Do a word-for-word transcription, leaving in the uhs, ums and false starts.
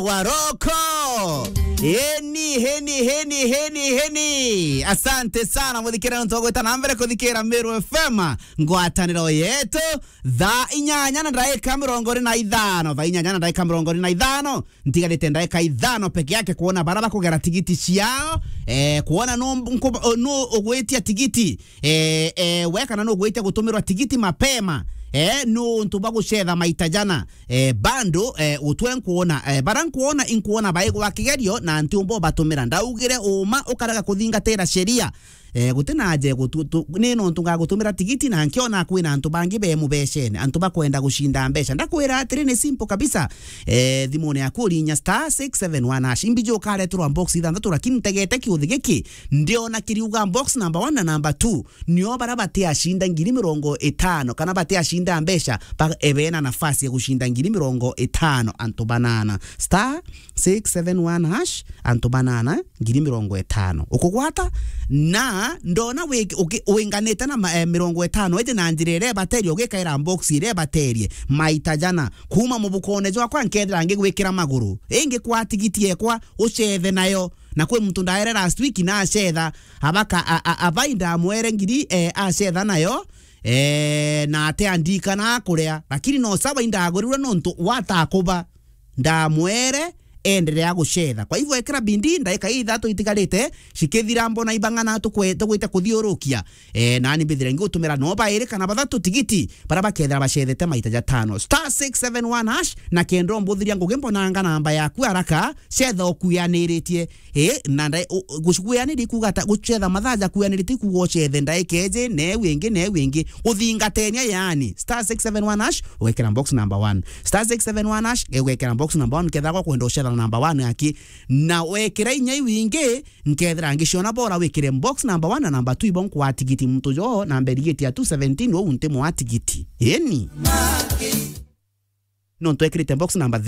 Waroko. Heni, heni, heni, heni, heni. Asante sana, muthikira nontu wa gwita na mbere kuthikira Meru F M, ngwataniro yetu. Thaa inyanya na ndaika mirongo iri na ithano, thaa inyanya na ndaika mirongo iri na ithano, ntigarite ndaika ithano peke yake kuona bara bakugera tigiti ciao, eh, kuona nu nku-, nu ugwitia tigiti, eh, eh, we kana nu ugwitia gutumirwa tigiti mapema, eh, nuntu bwa gucetha maita jana. Eh, bando, eh, utwe nkuona, eh, bara nkuona, inkuona baigwa kigerio na ntiumba ubatumira. Ndaugire uma ukarega kuthingatira sheria. Eh, guti na aje gutu-, tu-, ni nontu ngagutumira tigiti na nkiona kwina antu bangi be mubecene, antu bakwenda gucinda mbeca. Ndakwira atiri, ni simple kabisa. Eh, thimune yaku urinya star six seven one hash. Imbiji ukareterwa box ithanthatu, lakini ntegete kiuthi giki, ndiona kiriuga box number one na number two. Nio bara batiacinda ngiri mirongo itano, kana batiacinda mbeca, ba-, e, bena nafasi ya gucinda ngiri mirongo itano, antu banana. Star six seven one hash, antu banana, ngiri mirongo itano. Ukugwata, na ndona wi-, uki-, winganite na ma-, e, mirongo itano, iji na njira iria ibaterie, ugikaira box iria ibaterie, maita jana. Kuma mubukone jwakwa nkethira ngigwikira maguru. Ingi kwa tigiti ekwa, ucethe nayo. Na kwi muntu ndaere last week na acetha, abaka, a, a, abai ndamwere ngiri, eh, acetha nayo, eh, na ate andikana akuria. Lakini no sawa indagurirwe nontu watakuba. Ndamwere, endelea gucetha. Kwa hivyo ekira bindi, ndaika ithatu itigarite, cikithira mbona ibang'ana tukwe-, tugwite kuthiurukia. Eh, nani mbithire ngigutumira no bairi kana bathatu tigiti, bara bakethira bacethete maita jatano. Star six seven one hash, na kenda umbuthiria ngugi mbonanga namba yaku haraka, cetha ukuyaniritie. Eh, na ndai-, u-, u-, gucukuyaniri kuga ata, gucetha mathaa jakuyanirite kuga ucethe ndaika iji, na iu ingi, na iu ingi. Uthingatenia yani. Star six seven one hash, ugekira box number one. Star six seven one hash, ugekira box number one, kethira gwa kwenda ucetha na number one aki. Na wekira inya iu ingi, nkethira ngiciona bora wikire box number one na number two ibo nkwa tigiti muntu jo, namba irigiti ya two seventeen, ou nti mwa tigiti. Eni. Nontu ekirite box number